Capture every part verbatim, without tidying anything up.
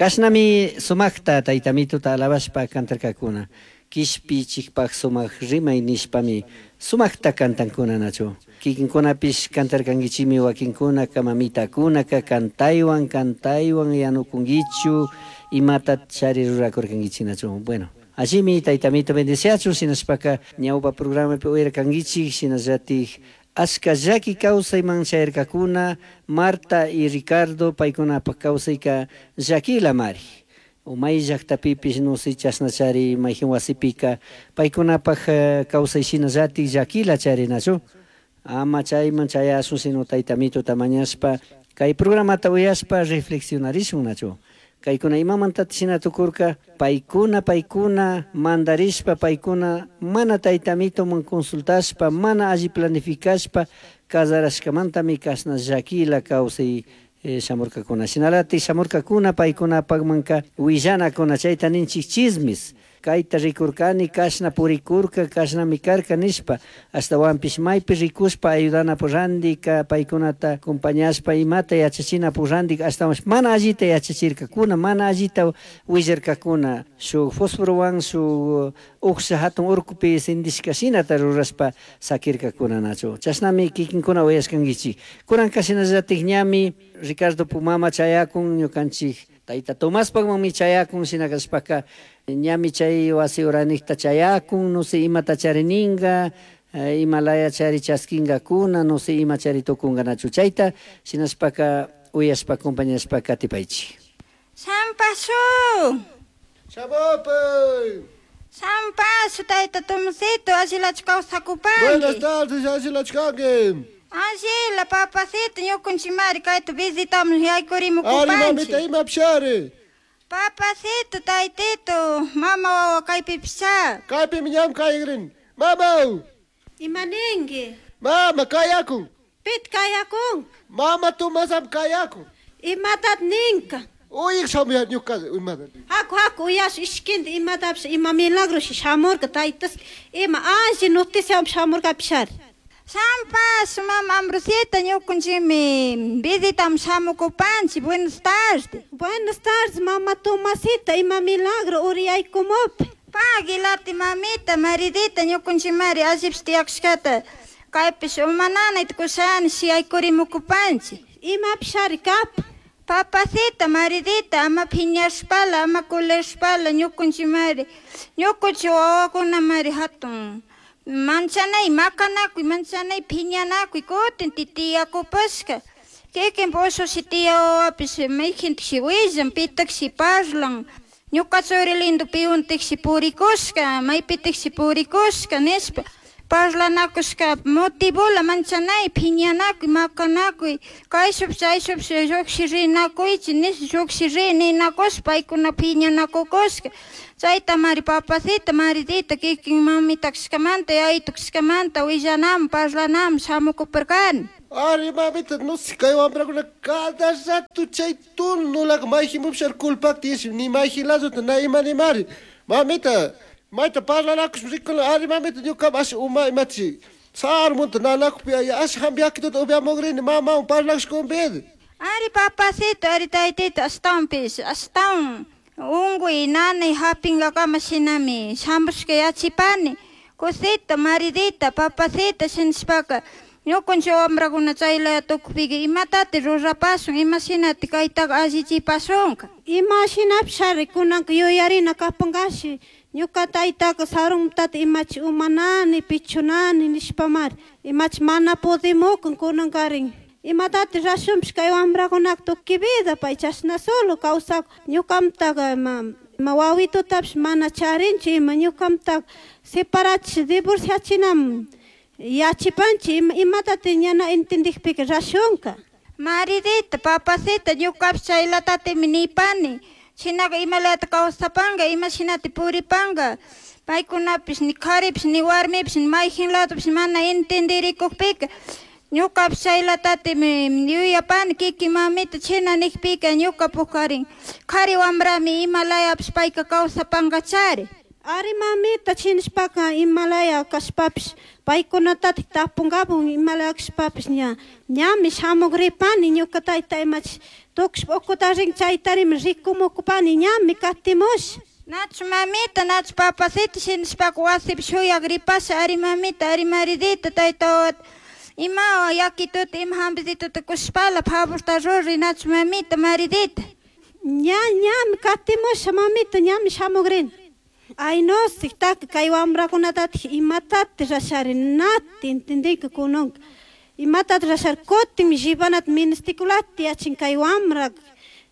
Kashnami sumajta taytamituta alabashpa kantarkakuna. Kishpichikpak sumak rimay nishpami sumajta kantankuna nachu. Kikinkunapish kantarkankichimi wakinkunaka mamitakunaka kantaywan kantaywan yanukunkichu imata chari rurakurkankichik nachu. Bueno, allimi taytamito bendeciachun shinashpaka ñawpa programapi uyarkankichik shinallatik ashka llaki kawsayman chayarkakuna Marta y Ricardo paykunapak kawsayka llakilamari. O may llaktapipish no sé chashnachari mayjin wasipika paykunapak kawsay shinallatik llakila charinachu. Ama chayman chayashun sino taytamituta mañashpa kay programata uyashpa reflexionarishun nachu. Kaykuna imamantata shina tukurka paykuna paykuna mandarishpa paykuna mana taytamituman consultashpa mana alli planificashpa casarashkamantami kashna llakila kawsay shamurkakuna. Shinalatik shamurkakuna paykunapakmanka willanakuna chayta ninchik chismis. Kayta rikurkani kashna purikurka kashnami karka nishpa ashtawanpish maypi rikushpa ayudanapu randika paykunata acompañashpa imata yachachinapu randika ashtawanpish mana allita yachachirkakuna mana allita willarkakuna shuk fosforowan shuk uksha hatun urkupi sindishka shinata rurashpa sakirkakuna nachu. Chashnami kikinkuna uyashkankichik. Kunanka shinallatik ñami Ricardo Pumama chayakun ñukanchik tayta Tomaspakmanmi chayakun shina kashpaka ñami chay wasi uranikta chayakun no sé imata charininga imalaya chari chaskinkakuna no sé ima chari tukunka nachu chayta shinashpaka uyashpa acompañashpa katipaychik. Sampasu. Shamupay. Sampasu tayta Tomasito allilachu kawsakupanki. Buenas tardes, allilachu kanki. Allila papacito ñukunchimari kayta visitamos yaykurimukupanchik. Ari mamita imapishari. Papacito, taytito, mama wawa kaypipisha. Kaypimi ñam kayakrin. Mama! Imaninki? Mama kayakun. Pit kayakun? Mama Tomasam kayakun. Imatat ninka? Uyik shamuya ñuka imata. Haku haku uyash ishkinta imatapish ima milagro shamurka taytas ima alli noticiawan shamurkapishari. Sampas, mama Ambrosita, ñukunchikmi visitam shamukupanchik. Buenas tardes. Buenas tardes, mama Tomasita, ima milagro uriyaykumopi. Pagui lati mamita, maridita, ñukunchikmari allipish tiyakushkata kaypish uma nanayta kushani yaykurimukupanchik. Imapishari kapa. Papacita, maridita, ama phiñashpala, ama kulashpala, ñukunchikmari, ñukunchik wawakunamari hatun manchanay makanakuy, manchanay phiñanakuy, kutin tiyakupashka. Kikin ushushi tiya wawapish mayjintashi willan, pitakshi parlan. Ñuka churi lindo piwantikshi purikushka, maypitikshi purikushka nishpa parlanakushka motivola manchanay phiñanakuy, makanakuy, kayshupsh chayshupsh lluqshi rinakuychik nish lluqshi ri ninakushpa paykuna phiñanakukushka. Chaytamari papacita, maridita kikin mamita kashkamanta, yayitu kashkamanta willanaman, parlanaman shamukuparkani. Ari mamita, no sé kay wamrakuna cada rato chay tunulaka mayjinpupishari culpakta yash ni mayjin ladota na imanimari. Mamita, mayta parlanakush rikuna ari mamita ñuka ash uma imachi sarmunta nanakupi ash hampi yakituta upiamukrini mamawan parlakush kumpidi. Ari papacito, ari taytito, ashtawanpish, ashtawan unkuy nanay hapinkakama shinami shamushka yachipani. Kusita, maridita, papacita shinashpaka ñukunchik wamrakuna chaylaya tukupika imatati rurapashun, imashinati kaytaka allichipashunka. Ima shinapishari kunanka yuyarina kapankashi ñuka taytaka sarunmantata imachi umanani pichunani nishpamari imachi mana pudimukun kunankarin. Imatati rashunpish kay wamrakunaka tukuy vida pay chashna solo kawsakun ñukamtaka ima ima wawitutapish mana charinchu ima ñukamtaka separachish divorciachinam yachipanchik ima imatati ñana entendikpika rashunka. Maridita, papacita, ñukapish chaylatatimi nipani. Shinaka imalata kawsapanka, ima shinati puripanka. Paykunapish ni karipish ni warmipish ni mayjin ladopish mana entendirikukpika ñukapish chaylatatimi yuyapani kikin mamita china nikpika ñuka pukarin kari wambrami imalayapish payka kawsapankachari. Ari mamita chinishpaka imalaya kashpapish paykunatatik tapunkapun imalaya kashpapish ña ñami shamukripani ñuka tayta imachi tukushpa ukuta rin chaytarimi rikumukupani ñami katimush. Nachu mamita, nachu papacita shinashpaka wasipi shuyakripasha ari mamita, ari maridita tayta wawata ima yakituta ima hampicituta kushpala favorta ruri nachu mamita maridita. Ña ñami katimusha mamita ñami shamukrini. Ay no, taka kay wamrakunatatik imatati rashari nati entendinka kunanka imatati rashari kutin llevanata ministikulata yachin kay wamra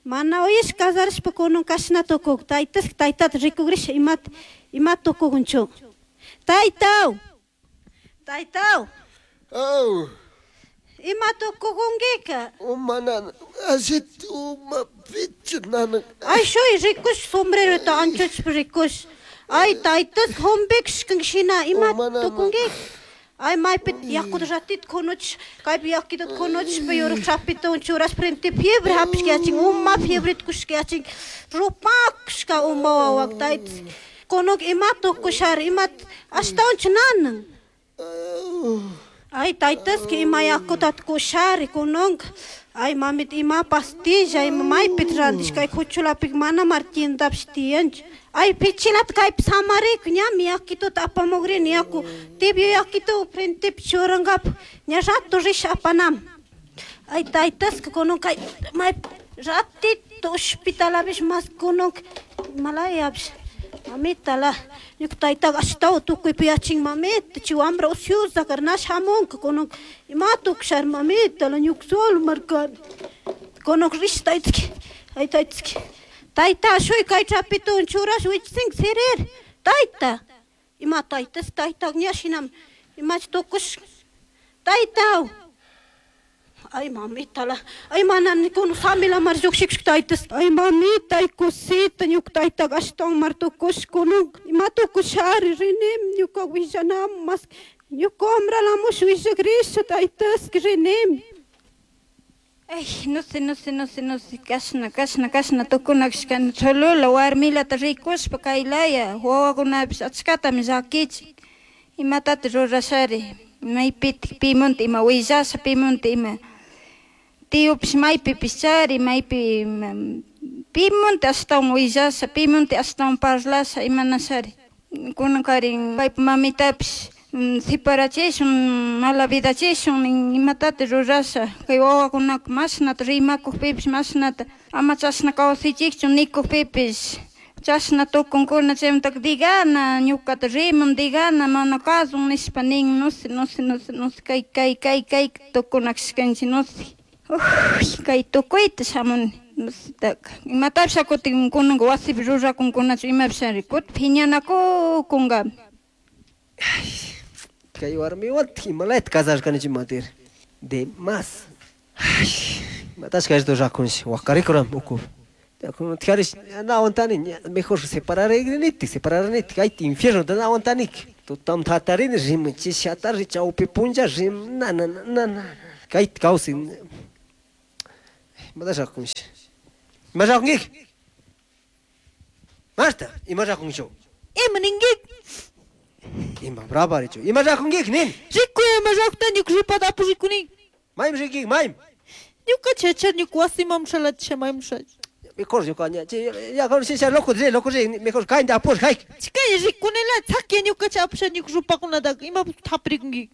mana uyash casarishpa kunan kashna tukuk taytaska taytata rikugrisha imata imata tukukunchu. Taytaw taytaw Oh, ima tukukunkika uma nana, ashit uma pichu nana. Ay shuy rikush sombrerota anchuchpa rikush. Ay taytas humpikshkan shina ima tukunkika. Ay maypi yakuta ratita kunuch kaypi yakita kunuchpa yurak chapita churash frente fiebre hapishka yachin uma fiebreta kushka yachin rupakushka uma wawak taytas kunuk ima tukushari ima ashtawanchu nanan. Ay taytaska ima yakutata kushari kunanka. Ay mamita ima pastilla ima maypita rantishka kay kuchulapika mana mar tiendapish tiyanchu. Ay pichilata kaypi samarikun ñami yakituta apamukrini yaku tibio yakitu frentepi churankapak ña rato risha apanami. Ay taytaska kunan kay maypi ratito hospitalapish mas kunanka imalayapish mamitala ñuka taytaka ashtawan tukuypi yachin mamita chay wambra ociosa kar na shamunka kunanka ima tukushari mamitala ñuka solo markani kunanka rish taytaki ay taytaki tayta shuy kay trapituwan churash wichisinka sirir tayta ima taytas taytaka ña shinami imachi tukush taytaw. Ay mamitala ay mana kunan samilamar llukshikushka taytas ay mamita ay cosita ñuka taytaka ashtawan mar tukush kunan ima tukushari rinimi ñuka willanamun mas ñuka wambralamush willakrisha taytaska rinimi. Ay, no sé, no sé, no sé, no sé, kashna, kashna, kashna tukunakashkani cholula warmilata rikushpa kaylaya wawakunapish achkatami llakichin imatata rurashari maypitik pimunta ima willasha pimunta ima tiyupish maypipish chari maypi pimunta ashtawan willasha pimunta ashtawan parlasha imanashari kunankarin paypa mamitapish separachishun mala vidachishun imatata rurasha kay wawakunaka mashnata rimakukpipish mashnata ama chashna kawsaychikchu nikukpipish chashna tukunkuna chaymantaka digana ñukata riman digana mana kasun nishpa nin no sé no sé no sé no sé kay kay kay kay tukunakashkanchik no sé uy kay tukuyta shamuni no sé taka imatapish kutin kunanka wasipi rurakunkunachu imapish ari kutin phiñanakukunkami. Kay warmiwantik imalayta casarkanichik matir de más. Ay, imatashka esto rakunshi wakarikuram ukupi. Tijarish na aguantani mejor separarinitik separarinitik ayta infierno na aguantanik. Tutamanta hatarini rimun chishi hatari chawpi punlla rim na na na na kayta kawsay imatash rakunshi. Ima rakunkik? Marta, ima rakunkichu? Ima ninkik? Ima brava richu. Ima rakunkik nin? Rikuy ima rakuta ñuka rupata apush rikunin. Maymi rinkik maymi? Ñuka chachar ñuka wasiman shalatisha maymi shash. Mejor ñuka ña ya con si loco ri loco ri mejor kaynta apush hayk. Chikay rikunila chakya ñuka cha apusha ñuka rupakunataka ima tapirikunkik.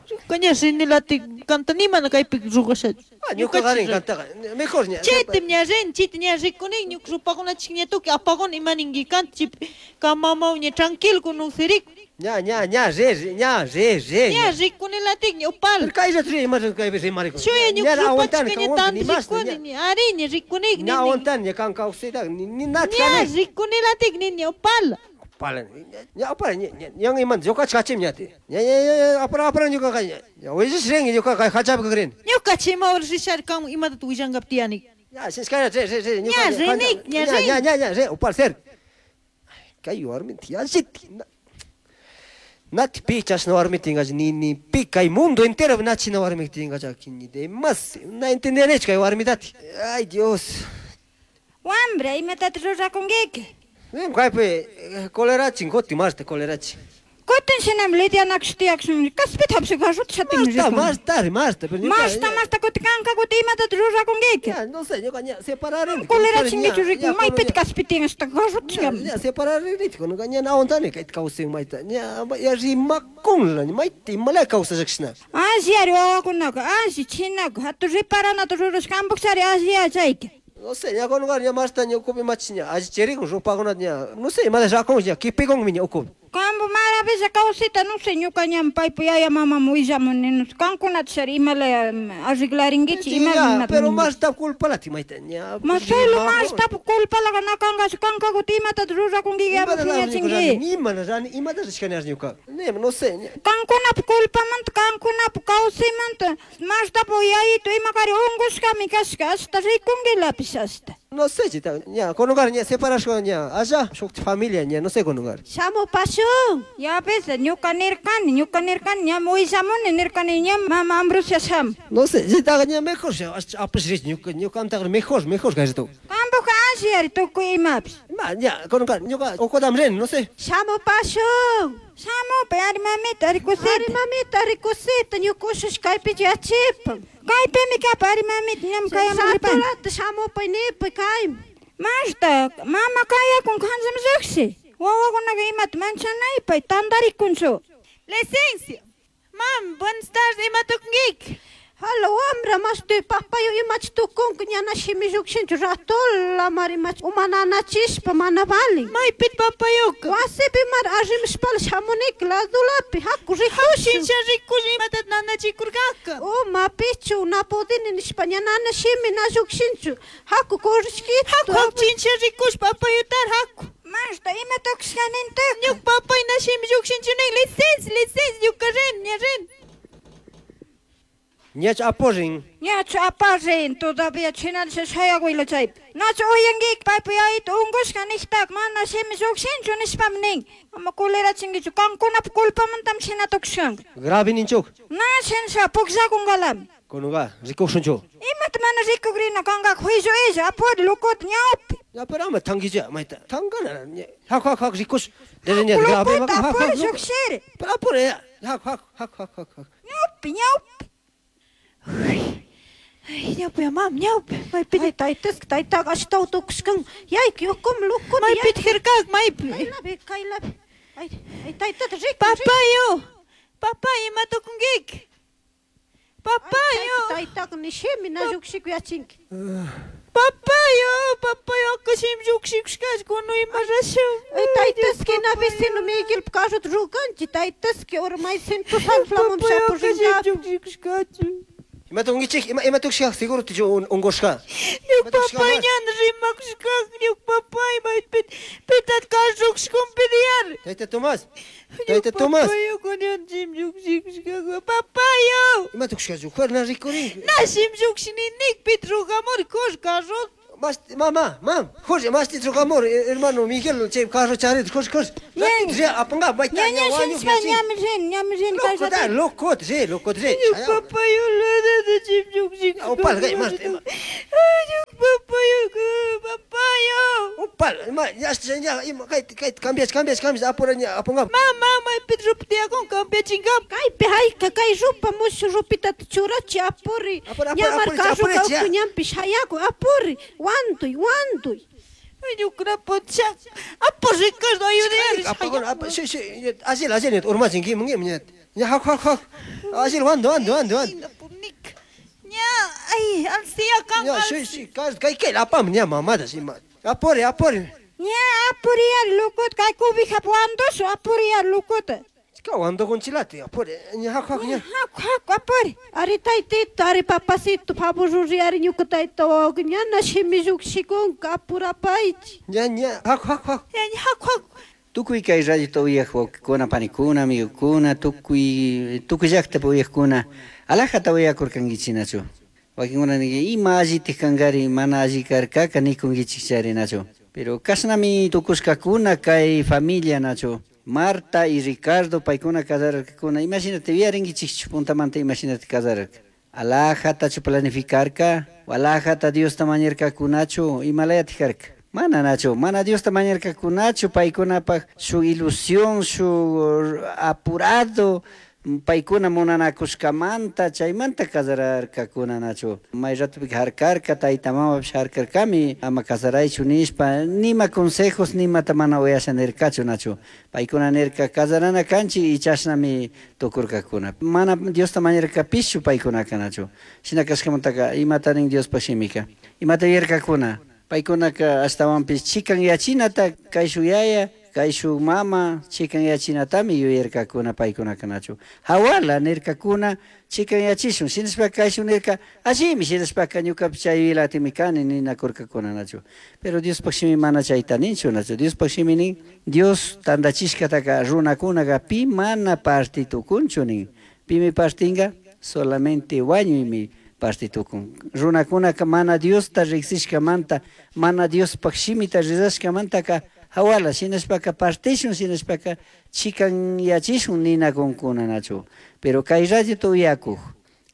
Ñuka ña rinilati kanta nimana kaypi ruwasha. Ñuka karin kantaqa mejor ña. Chaytam ña rin chayta ña rikunin ñuka rupakunachik ña tukuy apakuni ima ninki kanta chaypi kan mamawan ña tranquilo kunun sirikun. Ña ña ña ri ña ri ri. Ña rikunilatik ña upala. Kayllata ri ima kaypi rimarikun. Shuya ñuka rupachika ña tanto rikuni ari ña rikunik Ña aguantani ña kan kawsayta ni nati Ña rikunilatik ni ña upala. Upala ña upala ña ña imanta ñukacha kachim ñati. Ña ña ña apara apara ñuka ña willash rinki ñuka kay hachapi kakrini. Ñuka chay ima horas rishari kan imatata willankapaq tiyani. Ña sishkara ri ri ri Ña rinik ña rin. Ña ña ña ri upala ser. Kay warmita yallita Nati pi chashna warmitinkacha ni ni pi kay mundo entero nachina warmitinkacha ni de más na entendenichu kay warmitati. Ay Dios. Wambra imatata rurakunkiki? Kaypi colerachin kuti Marta colerachin. Kutin shinami Lidianaksh tiyakshun kaspita hapshi garrota shatin Marta, Marta, Marta, pero ñuka- Marta, Marta, kuti kanka kuti imatata rurakunkiki. Ya, no sé, ñuka ña separareni. Colerachinkichu rikun, maypita kaspi tiyan hasta garrota Ña, ña separareni, ñuka ña na aguantani kayta kawsay mayta. Ña, ya rimakunla, mayta imalaya kawsashakshina. Alli ari wawakunaka, alli chinaka, hatu riparanata rurashka ampukchari alli yachayka. No sé, ña kununkari ña Marta ña ukupi machi ña allichirikun rupakunata ña, no sé, imata rakun ña kipikunmi ña ukupi. Kampu maravilla kawsayta, no sé, ñuka ñami paypa yaya mamaman willamuni, no sé, kankunata shari imalaya arreglarinkichik, Ya, ima pero Marta culpalati mayta ña. Marcelo, Marta culpalaga na kankachu, kanka kuti imatata rurakunkiki ama phiñachinki. Imana rani, imata rishkani ari ñuka. Ne, no sé, ña. Kankunapa culpamanta, kankunapa kawsaymanta, Martapa yayito imakari unkushkami kashka, ashta rikunkilapish ashta. No sé, chita, ña, kununkari ña separashka ña, allá, shuk familia ña, no sé kununkari. Shamupashun. Ya ves, ñuka nirkani, ñuka nirkani, ñami willamuni nirkani, ñami mama Ambrosia shamu. No sé, chitaqa ña mejor, apash rich, ñuka, ñuka mejor, mejor kashtu. Kampuka alli ari tukuy imapish. Ma, ña, kununkari, ñuka ukudam rin, no sé. Shamupashun. Shamupi, ari mamita, ari kusita. Ari mamita, ari kusita, ñuka ushush kaypi yachipan. Kaypimi kapa, ari mamita, ñami kayaman ripani. Saturata shamupay nipay kaymi. Marta, mama kayakun kancham lluqshi. Wawakunaqa imata manchanaypay tantarikunchu. Licencia. Mam, buenas tardes, imatukunkiki. Hala wamra, mashti papayo imachi tukunka ñana shimi llukshinchu ratola mari machi uma nanachishpa mana valin. Maypit papayuka. Wasipi mari arrimishpala shamunika ladulapi haku rikushun. Shincha rikush imatat nanachikurkaka. Uma pichu na pudini nishpa ña nana shimi na llukshinchu haku kurishkitu. Haku haku chincha rikush papayutar haku. Marta, ima tukushkanintak. Ñuka papay na shimi llukshinchu nin, licencia, licencia, ñuka rin, ña rin. Ñach aporin. Ñachu aparin, todavía chinalisha shayakuyla chaypi. Nachu uyankiki paypa yayito unkushka nijtaka mana shimi llukshinchu nishpami nin. Ama culerachinkichu, kankunapa culpamantami shina tukushkanka. Grave ninchuk. Na shinsha pukllakunkalami. Kunuga, rikushunchu. Imata mana rikukrina kankaka juicio illa, apuri locota ñawpi. Ya, pero ama tankicha, mayta. Tankana, ña. Haku, haku, haku, rikush. Dere ña, grave, Locota haku, haku, apuri haku. llukshiri. Pero apuri, ya. Haku, haku, haku, haku, haku. Ñawpi, ñawpi. Ay, ñawpi, mam, ñawpi. Maypit, Ay, taytaska, taytaqa ashtawan tukushkan. Yayka yukum locota. maypit hirkak, maypi. Kaylapi, kaylapi. Ay, ay, taytata riku. Papayo, papay, imatukunkiki. Papayo, Taytaqa ni shimi na llukshiku yachinki. papayo, papayo, aka shimi llukshikushkash, kunu ima rashun. Ay, taytaski na vecino Miguel carrota rukanchik, taytaski ora maysintu salflamun Papayo, aka shimi shapurinkapi. llukshikushkachu. Ima tukunkichik, ima, ima tukushka, seguro tichu unkushka. Ñuka papay ñan rimakushkak, ñuka papay maypit, pitat karrukushkunpi diyar. Tayta Tomás. Tayta Tomás. Papayo, kunan shimi llukshikushkak, papayo. Ima tukushkachu, juerna rikurin. Na shimi llukshininik, pit rugamur, kush carro. Mas, mamá, mam, Jorge, mas te amor, hermano Miguel, che, carro charit, Jorge, Jorge. Ña. Apanga, mayta, Ña, ña, ña, wañu, shinshpa ñami rin, ñami rin Loco, da, loco, sí, loco, sí. Ñuka papayo, la da shimi llukshikushkak. Opal, gay, Marta, ima. Ay, ñuka papayo, papayo. Opal, ima, ya, ya, ima, kay, kay, cambias, cambias, cambias, apura, ña, apunga. Mama, maypit ruptiakun, cambiachinkap. Kaypi hayka kay rupa mushu rupitata churachi apuri. Apuri, apuri, Ñamar apuri, carroka apuri, ya. uku ñampi shayaku apuri. Wantuy, wantuy. Ay, ñuka punchak. Apo Ricardo, ayudar. Apunga, ap, sí, sí, así, así, urmachin, kim, kim, ña, ña, hak, hak, hak. Así, wando, wando, wando, wando. Ña, ay, alcia kan. Ña, sí, sí, kay, kay, apam, ña, mamada, sí, ma. Apuri, apuri. Ña, apuriyar locota, kay cobijap wandushu, apuriyar locota. Ka wando con chilate, apuri, ña, hak, hak, ña. Haku, haku, apuri. Ari taytito, ari papacito, favor ruri, ari ñuka tayta wawaka ñana shimi llukshikunka apurapaychi. Ña, ña, hak, hak, hak. Ña, ña, haku, haku. Tukuy kay radiota uyaq wawqikuna, panikuna, amigokuna, tukuy, tukuy llaqtapi uyaqkuna, alajata uyakurkankichinachu. Wakinkuna ninki, ima allitik kankari, mana alli karkaka nikunkichik charinachu. Pero kashnami tukushkakuna kay familia nachu. Marta y Ricardo paykuna casararkakuna, imashinata yuyarinkichikchu puntamanta imashinata casararka. Alajatachu planificarka, alajata Diosta mañarkakunachu, imalayatik karka. Mana nachu, mana Diosta mañarkakunachu paykunapaj shuk ilusión, shuk apurado paykuna munanakushkamanta chaymanta casararkakuna nachu. May ratopika harkarka, tayta mamapish harkarkami ama casaraychu nishpa, nima consejos nimata mana uyasha nirkachu nachu. Paykuna nirka casarana kanchik y chashnami tukurkakuna. Mana Diosta mañarkapischu paykunaka nachu. Shina kashkamantaka imata nin Diospaj shimika. Imata yuyarkakuna. Paykunaka ashtawanpish chikanyachinata kayshuk yaya, kayshuk mama chikanyachinatami yuyarkakuna paykunaka nachu. Hawala nirkakuna chikanyachishun, shinashpaka kayshuk nirka allimi, shinashpaka ñukapish chay yuyaylatimi kani ninakurkakuna nachu. Pero Diospaj shimi mana chayta ninchu nachu. Diospaj shimi nin Dios tandachishkataka runakunaka pi mana parti tukunchu nin. Pimi partinga solamente wañuymi parti tukun. Runakunaka mana Diosta riksishkamanta, mana Diospaj shimita rizashkamantaka hawala shinashpaka partishun, shinashpaka chikanyachishun ninakunkuna nachu. Pero kay radiota uyakuj,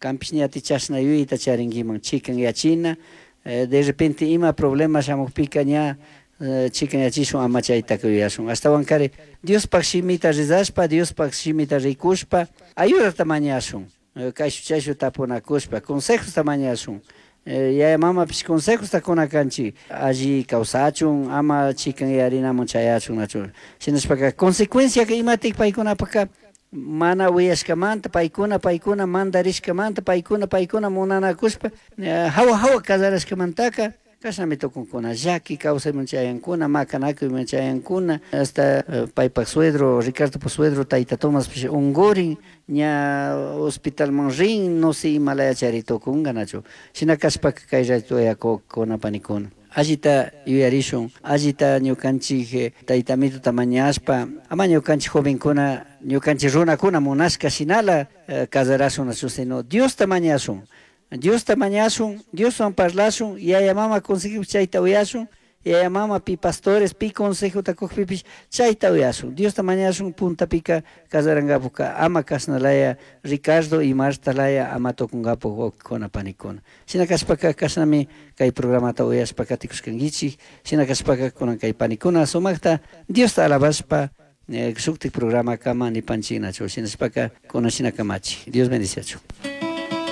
kanpish ñati chashna yuyayta charinkiman chikanyachina, eh, de repente ima problema shamukpika ña eh, chikanyachishun ama chaytaka yuyashun. Ashtawankari Diospaj shimita rizashpa, Diospaj shimita rikushpa, ayudata mañashun. Kayshu chayshu tapunakushpa, consejosta mañashun. Yaya mamapish consejosta kuna kanchik, alli kawsachun, ama chikanyarinamun chayachun nachu. Shinashpaka consecuenciaka imatik paykunapaka mana uyashkamanta, paykuna paykuna mandarishkamanta, paykuna paykuna munanakushpa, hawa hawa casarashkamantaka kashnami tukunkuna, llaki kawsayman chayankuna, makanakuyman chayankuna, hasta paypak suegro, Ricardopak suegro, tayta Tomaspish ungurin, ña hospitalman rin, no sé imalaya chari tukunka nachu. Shina kashpaka kay rato uyakukuna panikuna. Allita yuyarishun, allita ñukanchik tayta Amituta mañashpa, ama ñukanchik jovenkuna, ñukanchik runakuna munashka shinala casarashun nachu, sino Diosta mañashun. Diosta mañashun, Dioswan parlashun, yaya mama consejopish chayta uyashun, yaya mama pi pastores, pi consejota kukpipish chayta uyashun. Diosta mañashun puntapika casarankapukka ama kashnalaya Ricardo y Marta laya ama tukunkapuk wawkikuna panikuna. Shina kashpaka kashnami kay programata uyashpa katikushkankichik, shina kashpaka kunan kay panikuna sumakta Diosta alabashpa eh, shuktik programa kama nipanchik nachu, shinashpaka kunan shina kamachi. Dios bendiciachu.